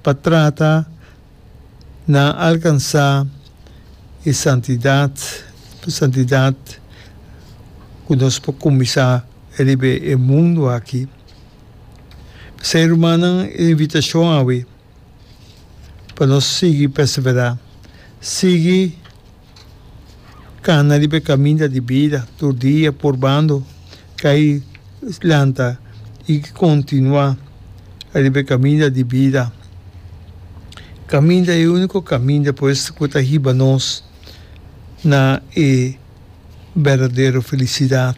pa trata na alkansá e santidat, santidat ku nos por kuminsá riba e mundu aki. P'esei rumannan e invitashon awe pa nos sigui perseverá, sigui kana riba e kaminda di bida tur dia purbando kai lanta i kontinuá riba e kaminda di bida. Kaminda e úniko kaminda pues ku ta hiba nos na e berdadero felisidat.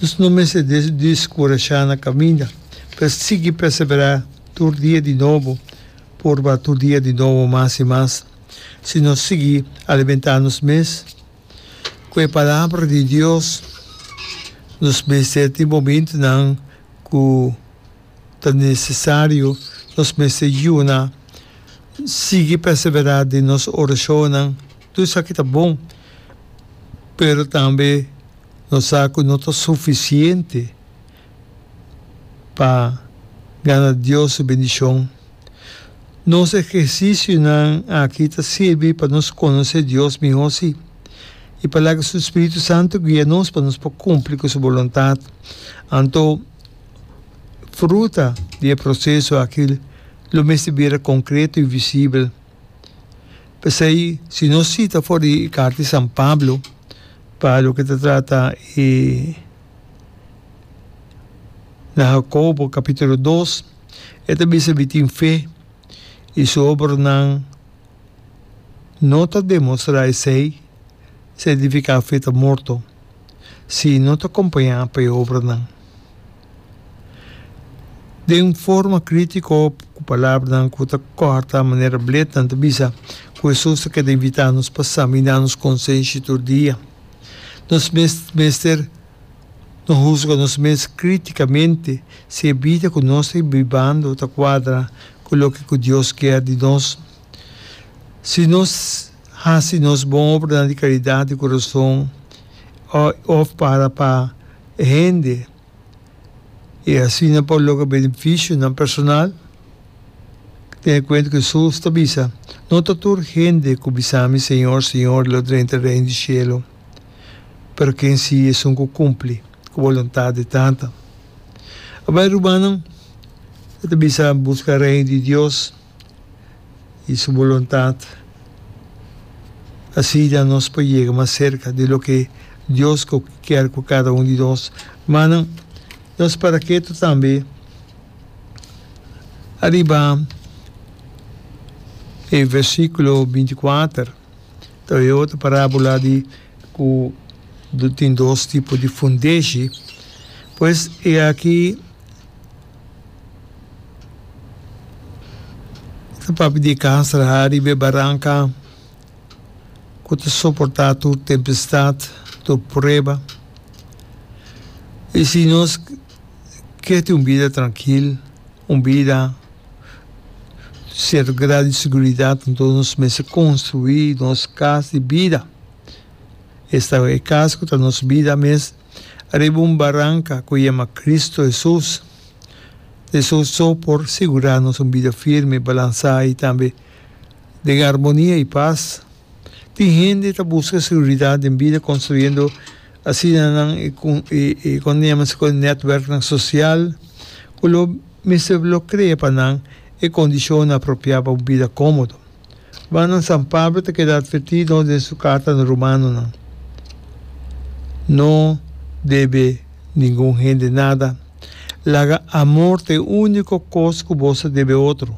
Nos no mester deskurashá na kaminda, pero sigui perseverá tur dia di nobo, purba tur dia di nobo mas i mas. Si nos sigui alimentá nos mes ku e Palabra di Dios, nos mester tin momentunan ku ta nesesario, nos mester yuna, sigui perseverá den nos orashonnan. Tur esaki ta bon, pero tambe nos sa ku no ta sufisiente pa gana Dios su bendishon. Nos ehersisionan aki ta sirbi pa nos konosé Dios mihó, sí, i pa laga su spiritu santu guia nos pa nos por kumpli ku su boluntat. Anto, fruta di e proseso aki lo mester bira konkreto i visibel. P'esei, si nos sita for di e karta di San Pablo pa loke ta trata e na Hakobo kapítulo dos, e ta bisa mi tin fe i su obranan no ta demostrá esei, signifiká fe ta morto si no ta kompañá pa e obranan. Den un forma krítiko ku palabranan ku ta kòrta manera blet nan ta bisa ku Hesus ta keda invitá nos pa saminá nos konsenshi tur dia. Nos mes mester no husga nos mes krítikamente si e bida ku nos ta bibando ta kuadra ku loke ku Dios kier di nos. Si nos hasi nos bon obranan di karidat di kurason òf para pa hende i asina por logra benefisionan personal, tene kuenta ku Hesus ta bisa, No ta tur hende ku bisa mi, Señor, Señor, lo drenta Reino di shelu, pero ken si esun ku kumpli ku boluntat di Tata. Abai rumannan, e ta bisa buska Reino di Dios i su boluntat, asina nos por yega mas serka di loke Dios ku kier ku kada un di nos. Rumannan, nos para ketu tambe ariba e versíkulo binti kuater, ta e otro parábola di ku tin dos tipo di fundeshi. Pues e aki ta papia di e kas traha riba e baranka ku ta soportá tur tempestat, tur prueba. I si nos Ke tin un bida trankil, un bida sierto grado di seguridat, anto nos mester konstruí nos kas di bida. Esta e kas ku ta nos bida mes ariba un baranka ku yama Kristu Hesus. Hesus so por sigurá nos un bida firme, balansá i tambe den armonia i pas. Tin hende ta buska seguridat den bida konstruyendo Asina nan e e kon yama esaki netwerknan sosial ku lo mester lo krea pa nan e kondishonnan apropiá pa un bida kómodo. Rumannan San Pablo ta keda atvertí nos den su karta na Romanonan, No debe ningun hende nada. Laga amor ta e úniko kos ku boso debe otro.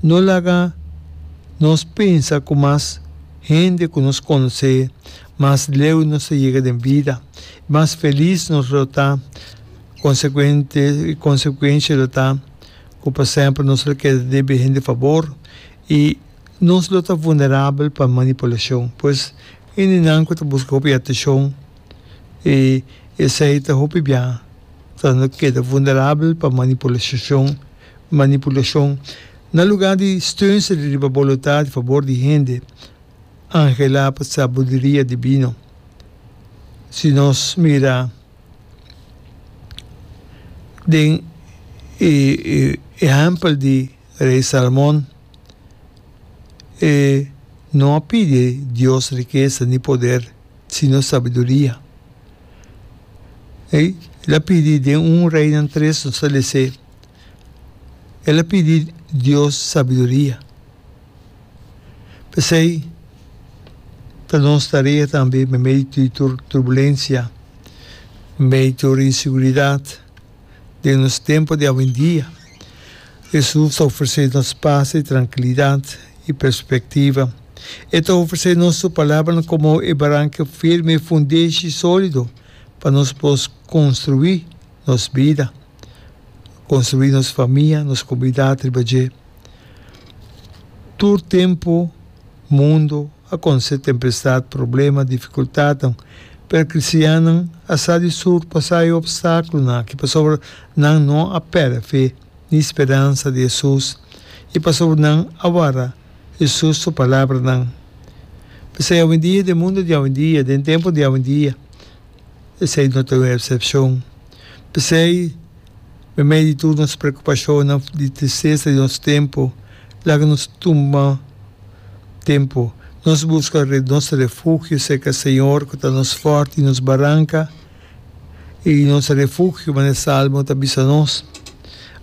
No laga nos pensa ku mas hende ku nos konosé Mas leu nos ta yega den bida, mas felis nos lo ta. Konsekuente, konsekuensha lo ta ku pa semper nos lo keda debe hende fabor i nos lo ta vulnerabel pa manipulashon. Pues, hendenan ku ta buska hopi atenshon i esei ta hopi bia ta keda vulnerabel pa manipulashon, manipulashon. Na lugá di steunse riba boluntat di fabor di hende, anhelá pa sabiduria dibino. Si nos mira den e ehèmpel di Rei Salomon, e no a pidi Dios rikesa ni poder, sino sabiduria. El a pidi den un Reinan tres nos ta les'é, el a pidi Dios sabiduria. P'esei ta nos tarea tambe meimei di tur turbulensia, meimei di tur inseguridat den nos tempu di awendia. Hesus ta ofresé nos pas i trankilidat i perspektiva. E ta ofresé nos su palabranan komo e baranka firme i fundeshi sólido pa nos por konstruí nos bida, konstruí nos famia, nos komunidat riba dje. Tur tempu mundu a konosé tempestat, problema, difikultatnan, pero kristiannan a sa di surpasá e opstákulonan aki pasobra nan no a pèrdè fe ni speransa di Hesus i pasobra nan a warda Hesus su palabranan. P'esei awendia den mundu di awendia, den tempu di awendia, esei no ta un eksepshon. P'esei, Meimei di tur nos preokupashonnan di tristesa di nos tempu, laga nos tuma tempu nos buska nos refugio serka Señor ku ta nos fòrti i nos baranka i nos refugio, manera e Salmo ta bisa nos.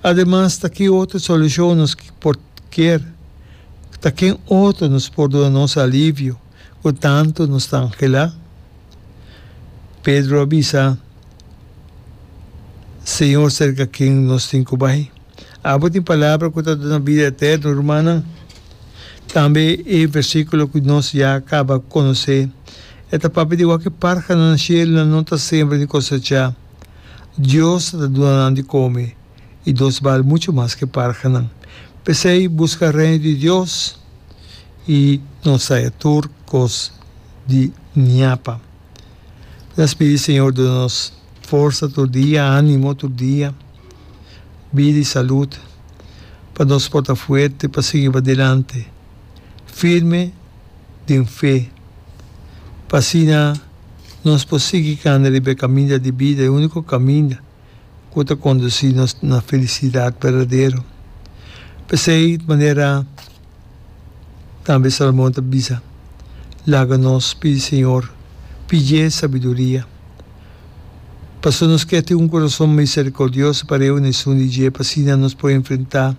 Ademas, ta ki otro solushon nos por kier? Ta ken otro nos por duna nos alivio ku tantu nos ta anhelá? Pedro a bisa. Señor serka ken nos tin ku bai? Abo tin palabra ku ta duna bida eterno, rumannan. Tambe e versíkulo ku nos ya kaba konosé, e ta papia di wak e parhanan na shelu no ta sembra ni kosechá. Dios ta duna nan di kome, i nos bal muchu mas ku e parhanan. P'esei, buska Reino di Dios, i nos haya tur kos di ñapa. Nos pidi Señor duna nos forsa tur dia, animo tur dia, bida y salud pa nos por ta fuerte pa sigui padilanti, firme den fe, pa asina nos por sigui cana riba e caminda di bida, e unico caminda cu ta conduci nos na felicidad berdadero. P'esey manera. Tambe Salomon ta bisa, Laga nos pidi Señor, pidié sabiduria. Pasobra nos ke tin un kurason miserikordioso pareu na esun di dje, pa asina nos por enfrentá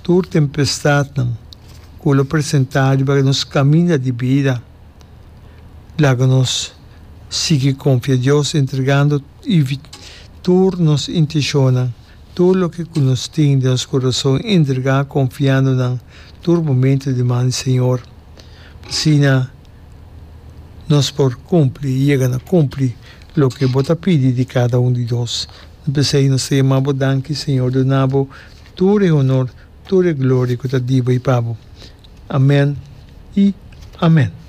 tur tempestatnan ku lo presentá riba nos kaminda di bida. Laga nos sigui konfia Dios, entregando tur nos intenshonnan. Tur loke ku nos tin den nos kurason entregá konfiando nan tur momento den man di Señor. Asina nos por kumpli i yega na kumpli loke Bo ta pidi di kada un di nos. P'esei nos ta yama Bo danki, Señor, duna Bo tur e honor, tur e gloria ku ta di Bo i pa Bo. Amen i amen.